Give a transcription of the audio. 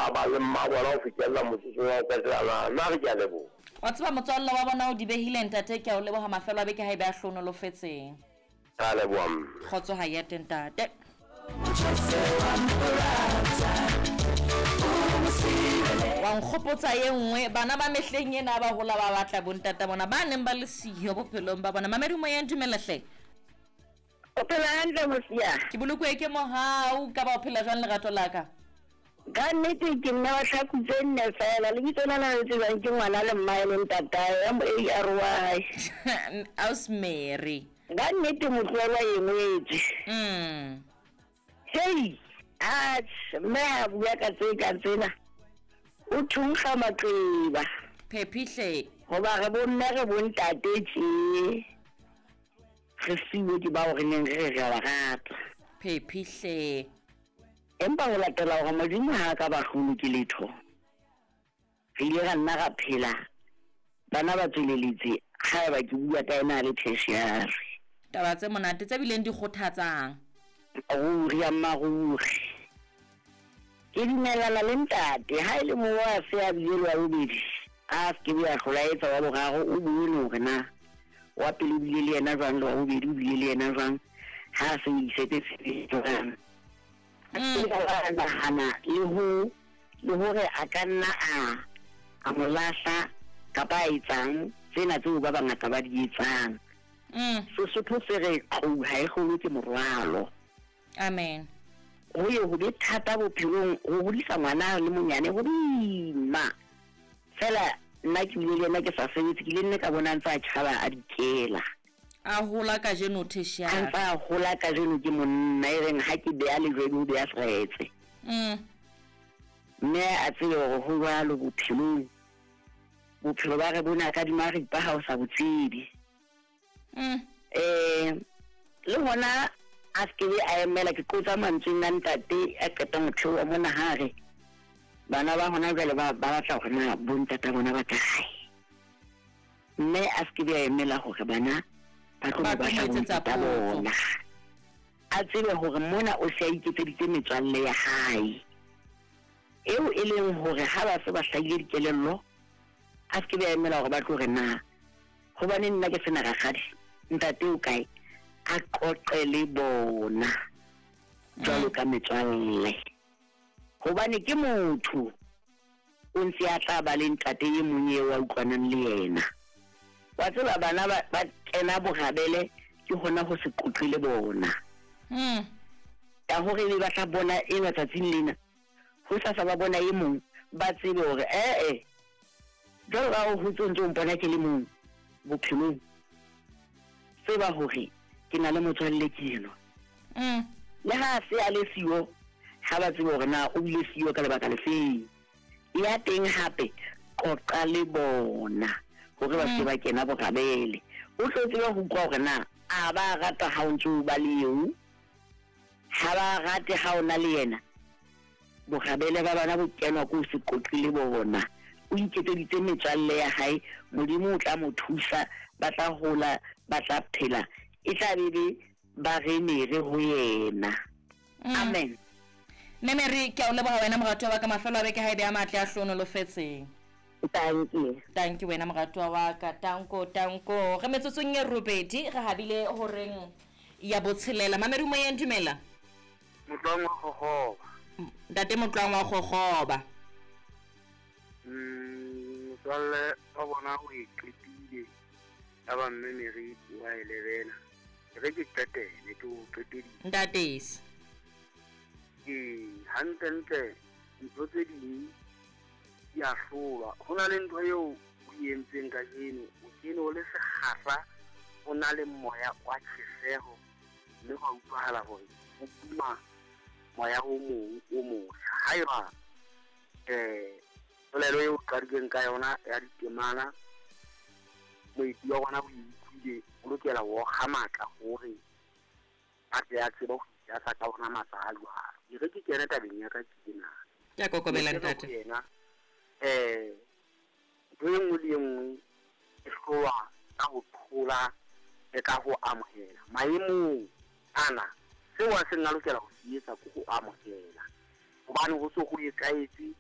ba ba le mma bona ho fihlella motsotso wa ho qetela na. Nna re ke a leboha. Wa tseba motswalle wa bona o di behile ntate ke a o leboha mafelo a beke ha ebe a hlohonolofetseng. Re a leboha mme. Kgotso ha ya teng ntate. Wa nkgopotsa ye nngwe bana ba mehleng ena ba hola ba batla bontata bona ba neng ba le siyo bophelong ba bona. Mamedi moyeng dumela hle. O phela hantle mosia? Ke bolokuwe ke mohau ka ba o phela jwang lerato la ka? Ka nnete ke mme wa tlhaku tse nne fela lebitso lena le tsebjang ke ngwana le mmae le ntatae M A R Y. Aus Mary. Ka nnete motloelwa e ngwetswe. Hei, atjhe mme ha bua ka tse kang tsena o thunkga maqeba. Phephi hle. Hoba re bomme re bontate tje. Re siuwe ke bao re neng re re re a ba rata. Phephi hle. Empa ho latela hore Modimo ha a ka ba hlolwe ke letho, re ile ra nna ra phela bana ba tsweleletse haeba ke bua ka ena a le tertiary. Taba tse monate tse bileng di kgothatsang. Ruri ya mmaruri. Ke dumellana le ntate, ha e le moo a se a bile le wa bobedi, a se ke be a hlola a etsa wa boraro, o bone hore na wa pele o bile le yena jwang le wa bobedi o bile le yena jwang, ha a se o isetse tshebetso jwang. A se ke a nahana le ho le hore a ka nna a a mo lahla kapa a etsang tsena tseo ba bangata ba di etsang. Sesotho se re tlou ha e hlolwe ke morwalo. Amen. Ho ye ho be thata bophelong ho hodisa ngwana a le monyane ho boima. Fela nna ke bile le yena ke sa sebetse ke ile nne ka bona a ntse a tjhaba a dikela. A hola kajeno tertiary. A ntse a hola kajeno ke monna e reng ha ke beha lejwe ebe o beha seretse. Mme a tsebe hore ho jwalo bophelong. Bophelo ba re bona ka dimaripa ha o sa bo tsebe. Um le hona a se kebe a emela ke qotsa mantsweng a ntate a qeta motheo wa mona ha re bana ba hona jwale ba ba batla hore na bontata bona ba kae mme a se kebe a emela hore bana ba tlo mo batla bontata bona a tsebe hore mona o se a iketseditse metswalle ya hae eo e leng hore ha ba se ba hlahile dikelello a se kebe a emela hore ba tlo re na Hobane nna ke sena rakgadi, ntate o kae? A qoqe le bona jwalo ka metswalle. Hobane ke motho, o ntse a tla ba le ntate e mong eo a utlwanang le yena. Wa tseba bana ba, ba kena borabele ke hona ho se qoqe le bona. Ka hore ebe ba tla bona enwa tsatsing lena, hosasa ba bona e mong, ba tsebe hore ee, Jwalo ka ha o hotse o ntse o mpona ke le mong bophelong, tseba hore ke na le motswalle ke enwa. Le ha a se a le siyo, ha ba tsebe hore na o bile siyo ka lebaka lefeng. Ya teng hape, qoqa le bona hore ba se ke ba kena borabele. O tlo tsebe ho utlwa hore na a ba rata ha o ntse o ba le eo, ha ba rate ha o na le yena. Borabele ba bona bo kenwa ke ho se qoqe le bona. O iketseditse metswalle ya hae, Modimo o tla mo thusa, ba tla hola, ba tla phela, e tla be be ba re mere ho yena. Amen. Mme Mary, ke a o leboha wena moratuwa wa ka, mafelo a beke ha e be a matle a hlohonolofetseng. Tanki. Tanki wena moratuwa wa ka, tanko, tanko. Re metsotsong e robedi, re habile horeng ya botshelela. Mamedi moyeng, dumela. Motlwang wa gogoba. Ntate Motlwang wa gogoba. Motswalle wa bona o e qetile ya ba mme Mary wa e lebela. E re ke qetele ke o qeteditse. Ntatesi. Ee, hantlentle ntho tse ding di a hlolwa. Ho na le ntho eo o e entseng kajeno, o kene o le sekgahla, o na le moya wa tjheseho. Mme hwa utlwahala hore ho puma moya o mong o motjha. Haeba um polelo eo qadileng ka yona ya ditemana, moeti wa rona o e utlwile, o lokela ho okga matla hore a tle a tsebe ho itasa ka ona matla a jwalo. E re ke kene tabeng ya ka ke ena. Ke a kokobela ntate. Yena um Ntho e nngwe le e nngwe e hlolwa ka ho thola le ka ho amohela. Maemong ana, seo a seng a lokela ho se etsa ke ho amohela hobane ho se ho etsahetse.